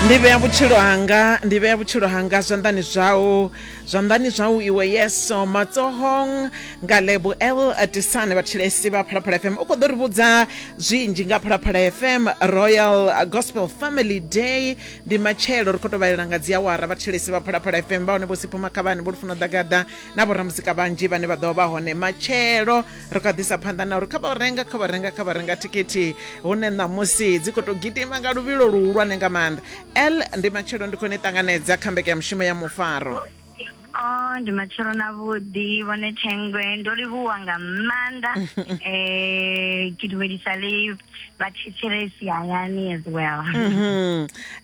Ndi vhea vhutshilo hanga, ndi vhea vhutshilo hanga zwanḓani zwau, zwanḓani zwau iwe Yesu, matsohong nga Lebo L Tisane. Vhathetshelesi vha Phalaphala FM, u khou ḓo ri vhudza zwinzhi nga Phalaphala FM Royal Gospel Family Day ndi matshelo, ri khou tou vhalela nga dziawara. Vhathetshelesi vha Phalaphala FM vha hone Vho Sipho Makhavhani, Vho Lufuno Ḓagaḓa na vhoramuzika vhanzhi vhane vha ḓo vha hone matshelo. Ri khou ḓisa phanḓa na uri kha vha renga, kha vha renga, kha vha renga thikhithi hune ṋamusi dzi khou tou gidima nga luvhilo luhulwane nga maanḓa. L ndi matshelo, ndi khou ni ṱanganedza kha mbekanyamushumo ya mufaro. Oh, ndi matshelo na vhuḓi vhone Thengwe, ndo livhuwa nga maanḓa. Ke dumedisa le vhathetshelesi hayani as well.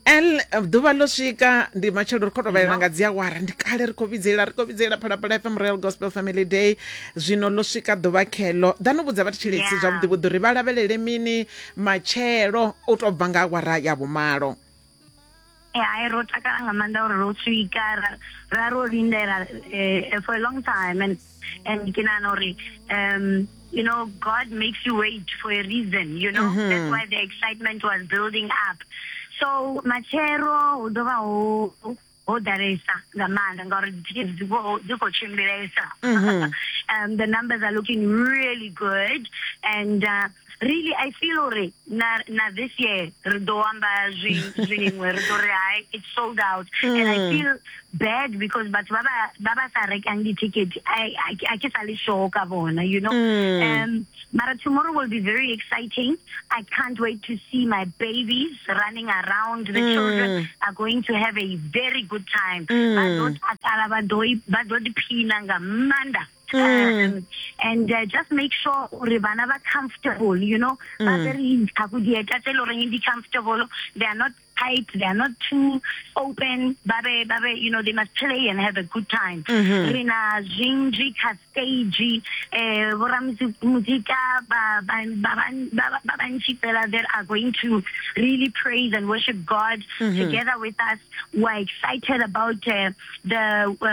L ḓuvha ḽo swika, ndi matshelo, ri khou tou vhalela nga dziawara, ndi kale ri khou vhidzelela, ri khou vhidzelela Phalaphala FM Royal Gospel Family Day, zwino ḽo swika ḓuvha kheḽo. Ḓa no vhudza vhathetshelesi zwavhuḓi vhuḓi uri vha lavhelele mini matshelo u tou bva nga awara ya vhumalo. Hai, ro takala nga maanḓa uri ro swika, ra ro lindela for a long time, and ke nahana uri you know, God makes you wait for a reason, you know. That's why the excitement was building up. So matshelo hu ḓo vha ho ho ḓalesa nga maanḓa ngauri dzithikhithi dzi khou tshimbilesa. The numbers are looking really good, and really I feel uri na this year ri ḓo amba zwiṅwe, ri ḓo ri hai, it's sold out. And I feel bad because batho ba ba ba sa rekang di-ticket, I ke sa le sure ka bona, you know. Mara tomorrow will be very exciting. I can't wait to see my babies running around. The children are going to have a very good time. Ba ḓo takala, ba ḓo ḓiphina nga maanḓa. And just make sure uri vhana vha comfortable, you know, ba very ntsha dieta tse le goreng di comfortable, they are not tight, they are not too open, ba be, you know, they must play and have a good time. Re na zwinzhi kha stage, vhoramuzika ba bantši fela that are going to really praise and worship God together with us. We're excited about the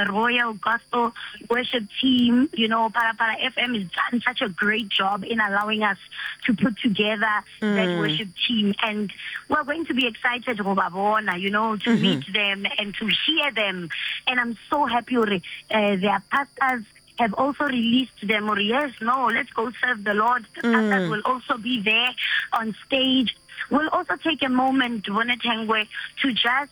Royal Gospel Worship Team. You know, Phalaphala FM has done such a great job in allowing us to put together that worship team, and we're going to be excited go ba bona, you know, to meet them and to hear them. And I'm so happy hore their pastors have also released them, or yes, no, let's go serve the Lord. The pastors will also be there on stage. We'll also take a moment, Vhone Thengwe, to just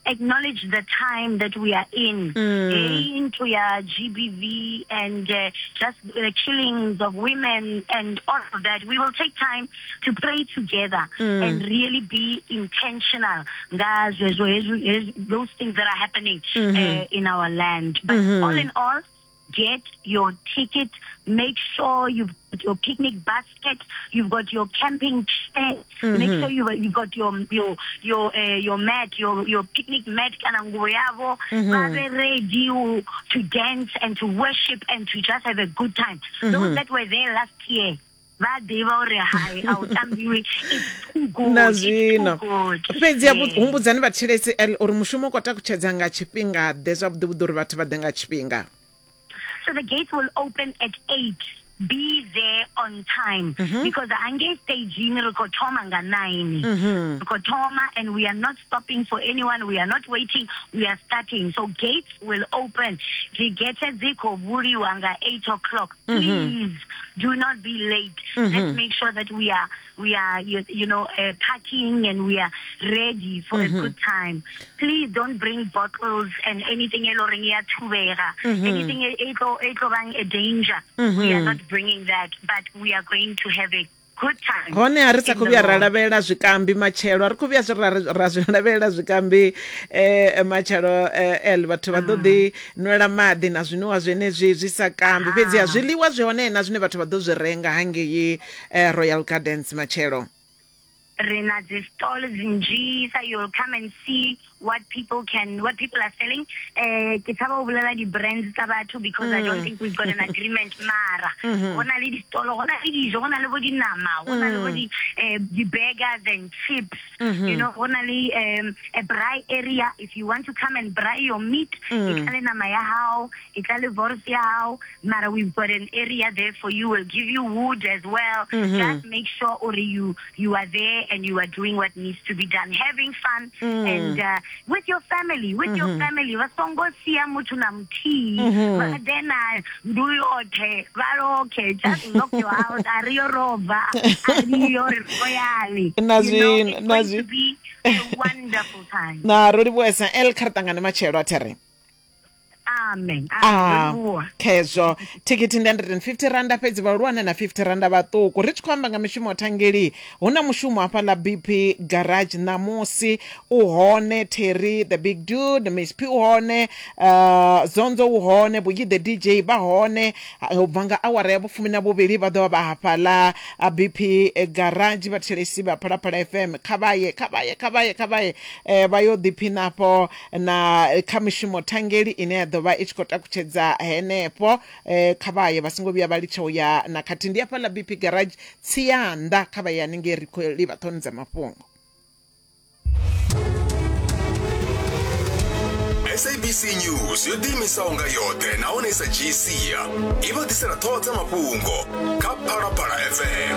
acknowledge the time that we are in, into ya GBV and just the killings of women and all of that. We will take time to pray together and really be intentional nga zwezwo those things that are happening in our land. But all in all, get your ticket. Make sure you've got your picnic basket, you've got your camping chair. Make sure you've got your mat, your picnic mat kana nguvo yavo. Ba be ready to dance and to worship and to just have a good time. Those that were there last year, vha ḓivha uri hai, a u tambiwi, it's too good. Na It's too zwino good. Fhedzi humbudzani vhathetshelesi L uri mushumo u khou takutshedza nga tshifhinga ḓe zwavhuḓi vhuḓi uri vhathu vha ḓe nga tshifhinga. So the gates will open at 8. Be there on time because hangei staging re khou thoma nga 9. Re khou thoma and we are not stopping for anyone. We are not waiting. We are starting. So gates will open. Dzi gate dzi khou vuliwa nga 8 o'clock. Please do not be late. Let's make sure that we are partying and we are ready for a good time. Please don't bring bottles and anything e loreng ya thubega. Anything e tlo bang a danger. We are not bringing that, but we are going to have a good time. Hone a ri sa in khou the vhuya ra Lord. Lavhelela zwikambi matshelo, a ri khou vhuya zwi ra zwi lavhelela zwikambi matshelo el vhathu vha ḓo ḓi nwela maḓi na zwinwiwa zwenezwi zwi sa kambi, fhedzi ha zwiḽiwa zwi hone na zwine vhathu vha ḓo zwi renga hangei Royal Gardens matshelo. Re na dzi stall dzinzhisa. You'll come and see what people are selling. Ke tshaba ho bolela di-brands tsa batho because I don't think we've got an agreement, mara go na le di-stall, go na le dijo, go na le bo dinama, go na le bo di-burgers and chips, go na le a braai area if you want to come and braai your meat. E tla le nama ya hao, e tla le wors ya hao, mara we've got an area there for you. We'll give you wood as well. Just make sure or you are there. and you are doing what needs to be done, having fun mm. and uh, with your family, with mm -hmm. your mm-hmm. family. Vha songo sia muthu na muthihi mm-hmm. vha ḓe na ndu yoṱhe vha lokhe just lock your house a ri yo robva a ri yo ri royali na zwi na zwi be a wonderful time na ro livhuwesa el kha ri ṱangane matshelo a there amen ah, khezwo thikhithi ndi 150 randa fhedzi vhahulwane na 50 randa vhaṱuku ri tshi khou amba nga mishumo thangeli hu na mushumo hafha ḽa bp garage ṋamusi u hone terry the big dude miss p u hone uh, zonzo u hone vhuyi the dj vha hone u bva nga awara ya vhufumi na vhuvhili vha ḓo vha vha hafhaḽa bp garage vhathetshelesi vha phalaphala fm kha vhaye kha vhaye kha vhaye kha vhaye eh, vha yo ḓiphina afho na kha mishumo thangeli ine ya ḓo vha i tshi khou takutshedza henefho eh, kha vhaye vha songo vhuya vha litsha u ya na khathihi ndi hafhaḽa bp garage tsianda kha vhaye haningei ri khou livha ṱhoni dza mafhungo sabc news yo ḓiimisaho nga yoṱhe nahone i sa dzhii sia i vha ḓisela ṱhoho dza mafhungo kha phalaphala fm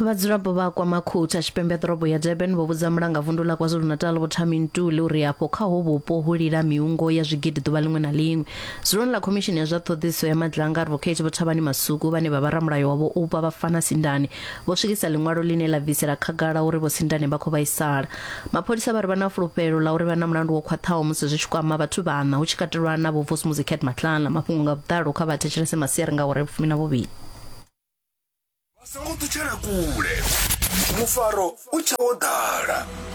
Vhadzulapo vha KwaMakhutha tshipembe ḓorobo ya Durban vho vhudza mulangavundu ḽa KwaZulu-Natal Vho Thami Ntuli uri afho kha ho vhupo hu lila miungo ya zwigidi ḓuvha ḽiṅwe na ḽiṅwe. Dzuloni ḽa Khomishini ya zwa Ṱhoḓisiso ya Madlanga Advocate Vho Thabani Masuku vhane vha vha ramulayo wa Vho Oupa Bafana Sindane vho swikisa ḽiṅwalo ḽine ḽa bvisela khagala uri Vho Sindane vha khou vhaisala. Mapholisa vha ri vha na fulufhelo ḽa uri vha na mulandu wo khwaṱhaho musi zwi tshi kwama vhathu vhaṋa hu tshi katelwa na Vho Vusimuzi Cat Matlala. Mafhungo nga vhuḓalo kha vha thetshelese masiari nga awara ya vhufumi na vhuvhili. Vha songo ṱutshela kule, mufaro u tshe wo ḓala.